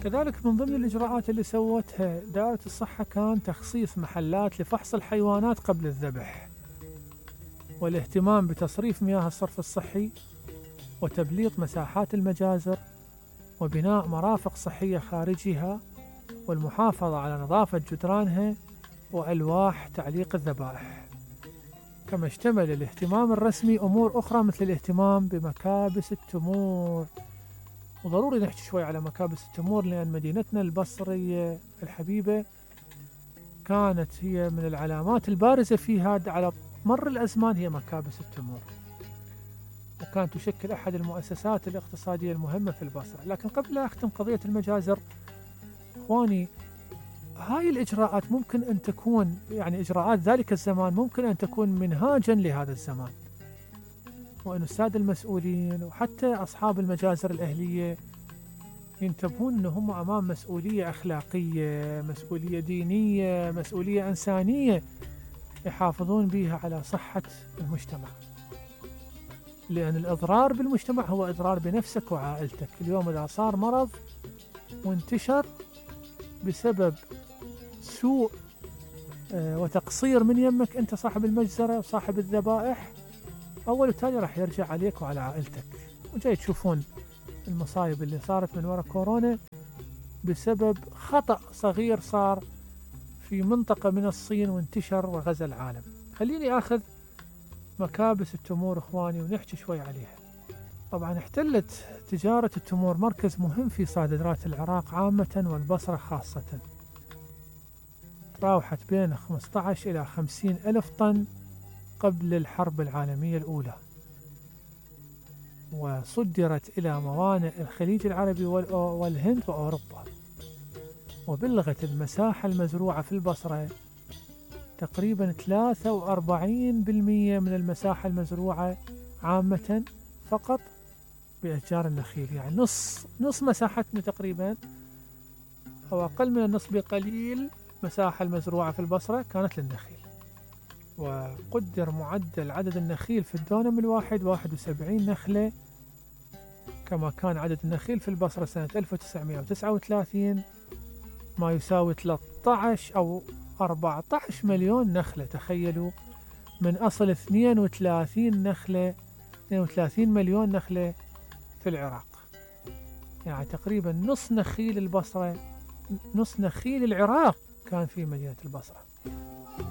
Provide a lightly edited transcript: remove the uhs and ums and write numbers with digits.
كذلك من ضمن الإجراءات اللي سوتها دائرة الصحة كان تخصيص محلات لفحص الحيوانات قبل الذبح، والاهتمام بتصريف مياه الصرف الصحي، وتبليط مساحات المجازر، وبناء مرافق صحية خارجها، والمحافظة على نظافة جدرانها، وألواح تعليق الذبائح. كما اشتمل الاهتمام الرسمي أمور أخرى مثل الاهتمام بمكابس التمور. وضروري نحكي شوي على مكابس التمور، لأن مدينتنا البصرية الحبيبة كانت هي من العلامات البارزة فيها على مر الأزمان هي مكابس التمور، وكانت تشكل أحد المؤسسات الاقتصادية المهمة في البصرة. لكن قبل لا أختم قضية المجازر، إخواني، هاي الإجراءات ممكن أن تكون، يعني إجراءات ذلك الزمان ممكن أن تكون منهاجا لهذا الزمان، وأن السادة المسؤولين وحتى أصحاب المجازر الأهلية ينتبهون أنهم أمام مسؤولية أخلاقية، مسؤولية دينية، مسؤولية إنسانية يحافظون بها على صحة المجتمع. لأن الإضرار بالمجتمع هو إضرار بنفسك وعائلتك. اليوم إذا صار مرض وانتشر بسبب سوء وتقصير من يمك أنت صاحب المجزرة وصاحب الذبائح، أول وتالي راح يرجع عليك وعلى عائلتك. وجاي تشوفون المصايب اللي صارت من وراء كورونا بسبب خطأ صغير صار في منطقة من الصين وانتشر وغزا العالم. خليني أخذ مكابس التمور إخواني ونحكي شوي عليها. طبعا احتلت تجارة التمور مركز مهم في صادرات العراق عامة والبصرة خاصة، تراوحت بين 15 إلى 50 ألف طن قبل الحرب العالمية الأولى، وصدرت إلى موانئ الخليج العربي والهند وأوروبا. وبلغت المساحة المزروعة في البصرة تقريبا 43% من المساحة المزروعة عامة فقط بأشجار النخيل، يعني نص مساحتنا تقريبا أو أقل من النص بقليل مساحة المزروعة في البصرة كانت للنخيل. وقدر معدل عدد النخيل في الدونم الواحد 71 نخلة، كما كان عدد النخيل في البصرة سنة 1939 ما يساوي 13 أو 14 مليون نخلة. تخيلوا، من أصل 32 مليون نخلة في العراق، يعني تقريبا نص نخيل البصرة، نص نخيل العراق كان في مدينة البصرة.